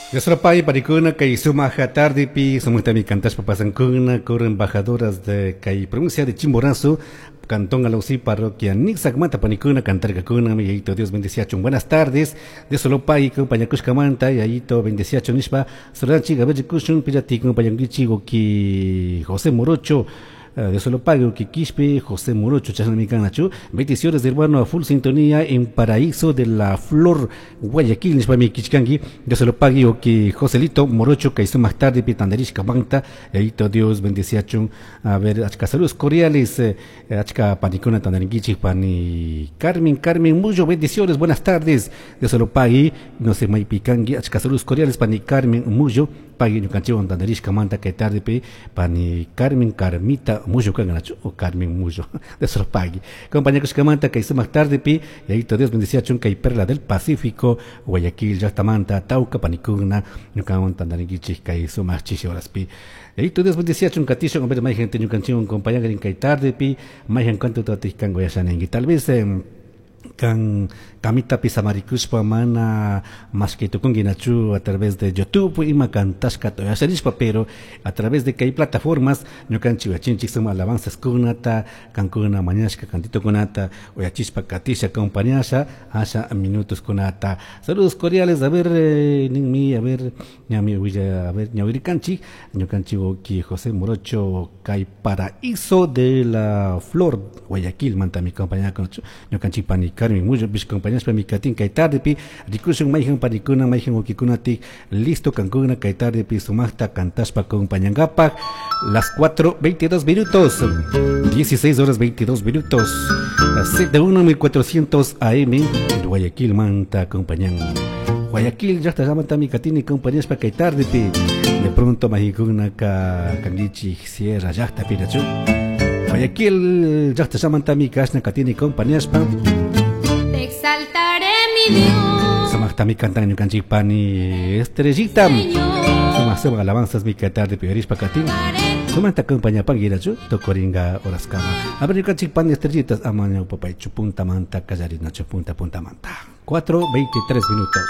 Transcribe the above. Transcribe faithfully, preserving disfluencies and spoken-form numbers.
Yasrapay parikuna kay sumaq tardepi sumaqtami kantashpa pasankuna coro embajadoras de kay provincia de Chimborazo, Cantón Alausí, parroquia Nixacmanta panikuna cantarkakuna. Yayito Dios bendeciachun. Buenas tardes de Solopay compañakushkamanta, Yayito bendeciachun nishpa saludanchik. A ver, rikushun pillati compañankichik. Ki José Morocho de Solopago, Quispe, José Morocho, chashnami. Bendiciones, hermano, a full sintonía en Paraíso de la Flor, Guayaquil, nishpami kichkanki, de Solopago, que Joselito Morocho, que más tarde, pitanderishka manta, Yayito Dios, bendeciachun. A ver, achka saludos cordiales, eh, achka panikuna tandarinkichik, pani Carmen, Carmen Muyo, bendiciones, buenas tardes, de Solopagui, no sé, maypikanki, achka saludos cordiales, pani Carmen Muyo, pagui ñukanchikwan tandarishka manta kay tarde pi, pani Carmen Carmita Muyo kanganachu o Carmen Muyo de Solopagui. Compañakushkamanta kay sumaq tarde pi, Yayito Dios bendeciachun. Kay Perla del Pacífico, Guayaquil llaqtamanta tawka panikuna ñukawan tandarinkichik kay sumaq chishi horaspi. Yayito Dios bendeciachun, katishun. A ver, mayhan ñukanchikwan compañankarin kay tarde pi, mayhan kantu tatij kango yashaninki. Tal vez eh, kan kamitapi samarikushpa mana mashkay tukunki nachu a través de YouTube ima kantashkata yasharishpa, pero a través de kay plataformas ñukanchik uyachinchik suma alabanzas kunata, kankuna mañashka kantitokunata uyachishpa katisha acompañasha asha minutos kunata. Saludos cordiales, a ver, eh, ninmi, a ver, ñami willa, a ver, ñawirikanchik ñukanchik ki José Morocho kay Paraíso de la Flor, Guayaquil manta mi compañía ñukanchik pani Carmen Muyo bish compañías mi katin kay tarde pi. Rikushun mayhan panikuna, mayhan wakikunati listo kankuna kay tarde pi sumaqta kantashpa acompañankapak. Las cuatro veintidós minutos, dieciséis horas veintidós minutos, Z uno mil cuatrocientos A M, Guayaquil manta acompañan. Guayaquil llaqta mi katini compañías pa kay tarde pi. De pronto mahikuna ka kangichi sierra llaqta pirachu. Guayaquil llaqta mi kashna katini compañías pa. Te exaltaré, mi Dios. Sumaqtami kantan ñukanchik pani Estrellita. Sumaq sumaq alabanzas mi kay tarde piorishpa katin. Sumanta acompaña panguirachu tocoringa horaskama. A ver, ñukanchik pani Estrellitas ama ñawpapaychu punta manta kallarinachu punta punta manta. cuatro veintitrés minutos.